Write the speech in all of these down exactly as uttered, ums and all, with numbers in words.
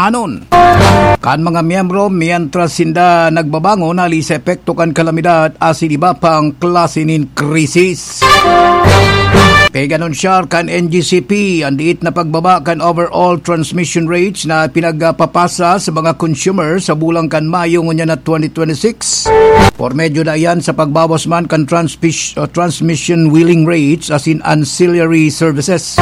anon kan mga miyembro mientras sinda nagbabangon hali sa epekto kan kalamidad asin iba pang klase nin krisis. Pig-anunsyar kan N G C P an diit na pagbaba kan overall transmission rates na pinagpapasa sa mga consumer sa bulan kan Mayo ngunyan na twenty twenty-six. Por medyo na iyan sa pagbawas man kan transpis-, uh, transmission wheeling rates asin ancillary services.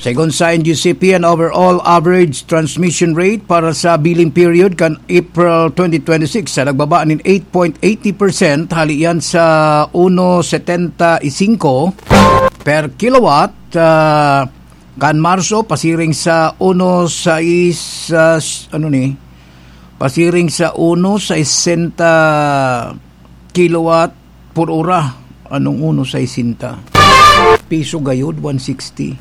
Segun sa N G C P, an overall average transmission rate para sa billing period kan April twenty twenty-six sa nagbaba nin eight point eighty percent hali iyan sa uno setenta y cinco per kilowatt, ah, kan Marso pasiring sa uno sais, ah, s-, ano ni? Pasiring sa uno sesenta kilowatt por ora. Anong uno sesenta? Piso gayod, one sixty.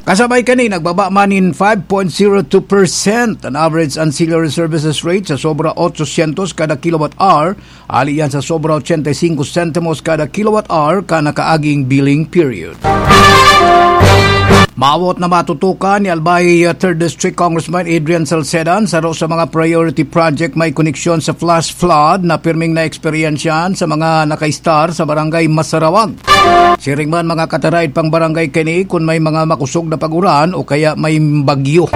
Kasabay kani, nagbaba man nin five point zero two percent an average ancillary services rate sa sobra ochocientos kada kilowatt hour, hali iyan sa sobra ochenta y cinco sentimos kada kilowatt hour kan nakaaging billing period. Maawot na matutukan ni Albay, uh, Third District Congressman Adrian Salceda an saro sa mga priority project may koneksyon sa flash flood na pirming naeksperyensyahan sa mga nakaistar sa Barangay Masarawag. Siring man, mga kataraid pang barangay kini kun may mga makosog na pag-uran o kaya may bagyo.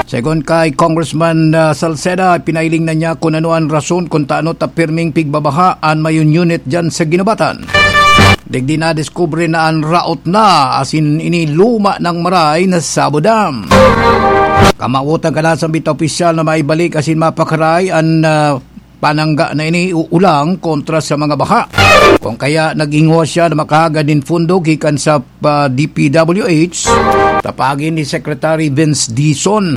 Segun kay Congressman, uh, Salceda, pinailing na niya kun ano an rason kun tano ta pirming pigbabaha an mayong unit diyan sa Guinobatan. Digdi nadiskubre na an raot na, asin ini luma nang maray na Sabo Dam. Kamawotan kan nasambit na opisyal na maibalik asin mapakaray an, ah, panangga na ini uulang kontra sa mga baha. Kung kaya nagingwa siya na makahagad nin pondo gikan sa, ah, D P W H, tapagi ni Secretary Vince Dizon.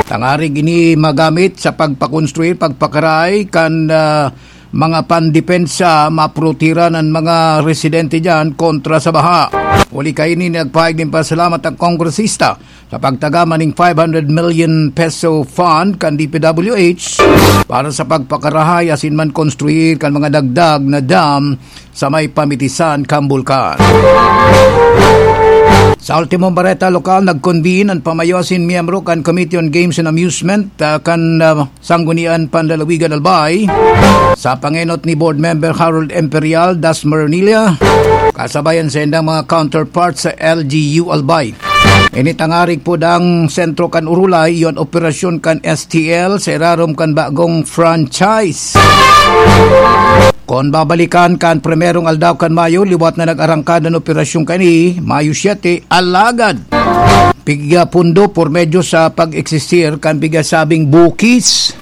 Tangarig ini magamit sa pagpakonstruir, pagpakaray kan, ah, mga pandepensa, maprotehiran an mga residente diyan kontra sa baha. Huli kaini, nagpahayag nin pasalamat ang kongresista sa pagtagama ning five hundred million peso fund kan D P W H para sa pagpakarahay asin man konstruir kan mga dagdag na dam sa may pamitisan kan bulkan. Sa ultimong bareta lokal, nag-convene an pamayo asin miyembro kan Committee on Games and Amusement, ah, kan, ah, Sanggunian Panlalawigan Albay, sa pangenot ni Board Member Harold Imperial, Dasmariñas, kasabayan sa indang mga counterparts sa L G U Albay. Ini tangarig po dang sentro kan Urulay, iyon operasyon kan S T L sa irarom kan bagong franchise. Kon babalikan kan primerong aldaw kan Mayo, liwat na nag-arangkad an operasyon kani, Mayo siete, alagad pigya pundo por medyo sa pag-eksistir kan pigyasabing bukis.